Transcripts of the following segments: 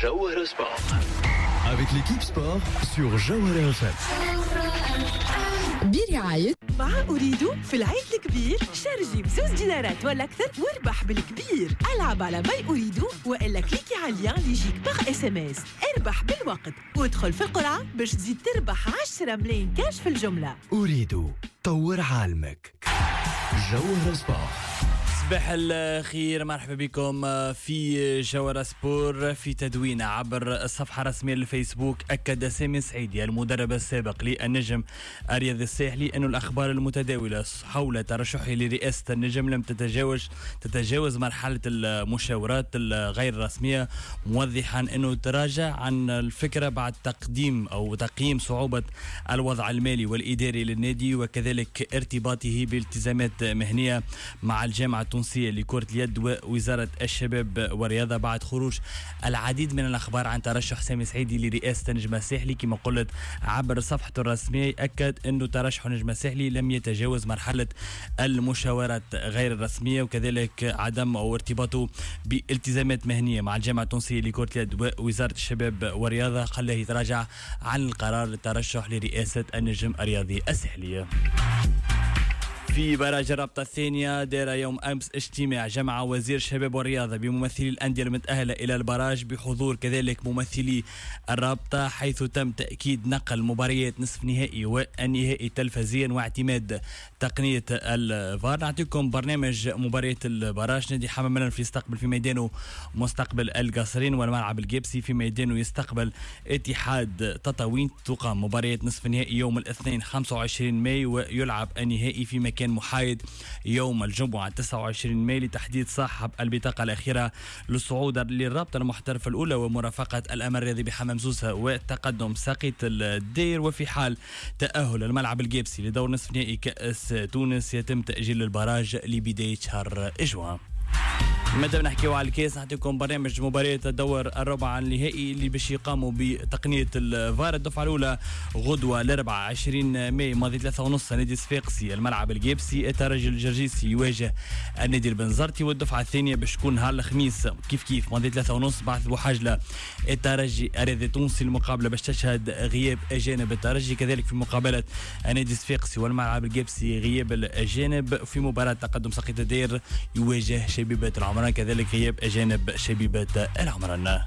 جوهرة Sport. Avec l'équipe sport sur Jawhara FM. برعاية مع أوريدو في العيد الكبير، شارجي ب2 دينارات ولا أكثر واربح بالكبير. ألعب على My Ooredoo وإلا cliquer على ال lien اللي يجيك par SMS، اربح بالوقت وادخل في القرعة باش تزيد تربح 10 ملايين كاش في الجملة. أوريدو، طور عالمك. جوهرة Sport. صباح الخير، مرحبا بكم في جوهرة Sport. في تدوين عبر الصفحة الرسمية للفيسبوك، أكد سامي سعيدي المدرب السابق للنجم الرياضي الساحلي أن الأخبار المتداولة حول ترشحه لرئاسة النجم لم تتجاوز مرحلة المشاورات الغير رسمية، موضحا أنه تراجع عن الفكرة بعد تقديم أو تقييم صعوبة الوضع المالي والإداري للنادي، وكذلك ارتباطه بالتزامات مهنية مع الجامعة التونسية لكرة اليد ووزارة الشباب والرياضة. بعد خروج العديد من الأخبار عن ترشح سامي سعيدي لرئاسة النجم الساحلي، كما قلت عبر صفحته الرسمية أكد أنه ترشح النجم الساحلي لم يتجاوز مرحلة المشاورات غير الرسمية، وكذلك عدم أو ارتباطه بالتزامات مهنية مع الجامعة التونسية لكرة اليد ووزارة الشباب والرياضة خلاه يتراجع عن القرار الترشح لرئاسة النجم الرياضي الساحلي. في barrage الرابطة الثانية، دار يوم أمس اجتماع جمع وزير الشباب والرياضة بممثلي الأندية المتأهلة إلى ال barrage بحضور كذلك ممثلي الرابطة، حيث تم تأكيد نقل مباريات نصف نهائي والنهائي تلفزيا واعتماد تقنية الفار. نعطيكم برنامج مباريات ال barrage: نادي حمام الأنف يستقبل في ميدانه مستقبل القصرين، والملعب القابسي في ميدانه يستقبل اتحاد تطاوين. تقام مباريات نصف نهائي يوم الاثنين 25 ماي، ويلعب النهائي في مكان محايد يوم الجمعة 29 ماي لتحديد صاحب البطاقة الأخيرة للصعود للرابطة المحترفة الأولى ومرافقة الأمل الرياضي بحمام سوسة وتقدم ساقية الدير. وفي حال تأهل الملعب القابسي لدور نصف نهائي كأس تونس، يتم تأجيل ال barrage لبداية شهر جوان. مادام نحكيو على الكاس، نعطيكم برنامج مباريات الدور الربع النهائي اللي باش يقاموا بتقنية الفار. الدفعة الاولى غدوه الاربعاء 20 ماي ماضي 3:30، نادي صفاقسي الملعب القابسي، الترجي الجرجيسي يواجه النادي البنزرتي. والدفعه الثانية باش تكون نهار الخميس كيف كيف ماضي 3:30، بعث بوحجله الترجي الرياضي التونسي. المقابلة باش تشهد غياب اجانب الترجي، كذلك في مقابله النادي الصفاقسي والملعب القابسي غياب الاجانب. في مباراة تقدم ساقية الدير يواجه شبيبة العمران، كذلك غياب اجانب شبيبة العمران.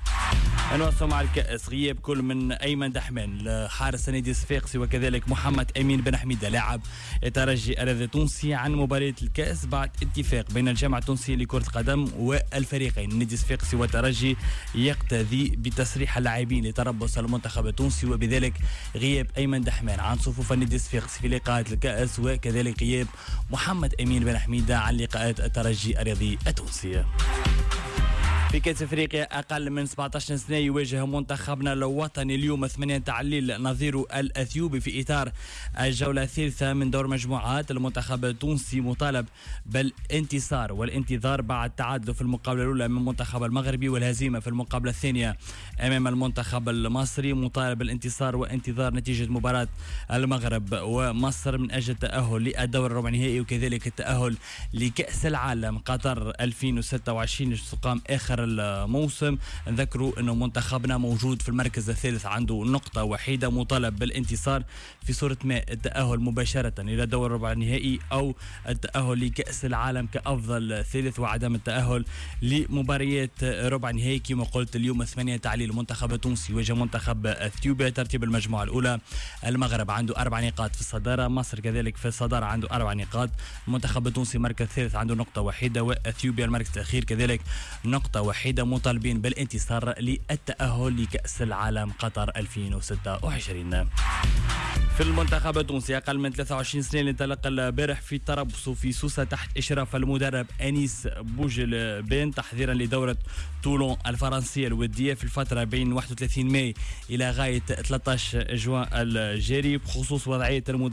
نواصل مع الكأس: غياب كل من أيمن دحمان حارس نادي الصفاقسي وكذلك محمد أمين بن حميدة لاعب الترجي الرياضي التونسي عن مباراة الكأس بعد اتفاق بين الجامعة التونسية لكرة القدم والفريقين النادي الصفاقسي والترجي يقتضي بتسريح اللاعبين لتربص المنتخب التونسي، وبذلك غياب أيمن دحمان عن صفوف النادي الصفاقسي في لقاءات الكأس، وكذلك غياب محمد أمين بن حميدة عن لقاءات الترجي الرياضي التونسي. في كأس افريقيا اقل من 17 سنه، يواجه منتخبنا الوطني اليوم 8 تاع الليل نظيره الاثيوبي في اطار الجولة الثالثة من دور مجموعات. المنتخب التونسي مطالب بالانتصار والانتظار بعد تعادله في المقابلة الاولى من المنتخب المغربي والهزيمة في المقابلة الثانية امام المنتخب المصري. مطالب بالانتصار وانتظار نتيجة مباراة المغرب ومصر من اجل التاهل للدور الربع النهائي، وكذلك التاهل لكاس العالم قطر 2026 تقام اخر الموسم. نذكروا انه منتخبنا موجود في المركز الثالث، عنده نقطة وحيدة، مطالب بالانتصار في صورة ما التأهل مباشرة إلى دور الربع النهائي أو التأهل لكأس العالم كأفضل ثالث وعدم التأهل لمباريات ربع نهائي. كما قلت، اليوم 8 تاع الليل المنتخب التونسي يواجه منتخب اثيوبيا. ترتيب المجموعة الأولى: المغرب عنده 4 نقاط في الصدارة، مصر كذلك في الصدارة عنده 4 نقاط، المنتخب التونسي مركز ثالث عنده نقطة وحيدة، وأثيوبيا المركز الأخير كذلك نقطة وحيدة، مطالبين بالانتصار للتأهل لكأس العالم قطر 2026. في المنتخب التونسي أقل من 23 سنة اللي انطلق البارح في تربصه في سوسة تحت إشراف المدرب أنيس بوجلبان تحضيرا لدورة تولون الفرنسية الودية في الفترة بين 31 ماي إلى غاية 13 جوان الجاري. بخصوص وضعية المدرب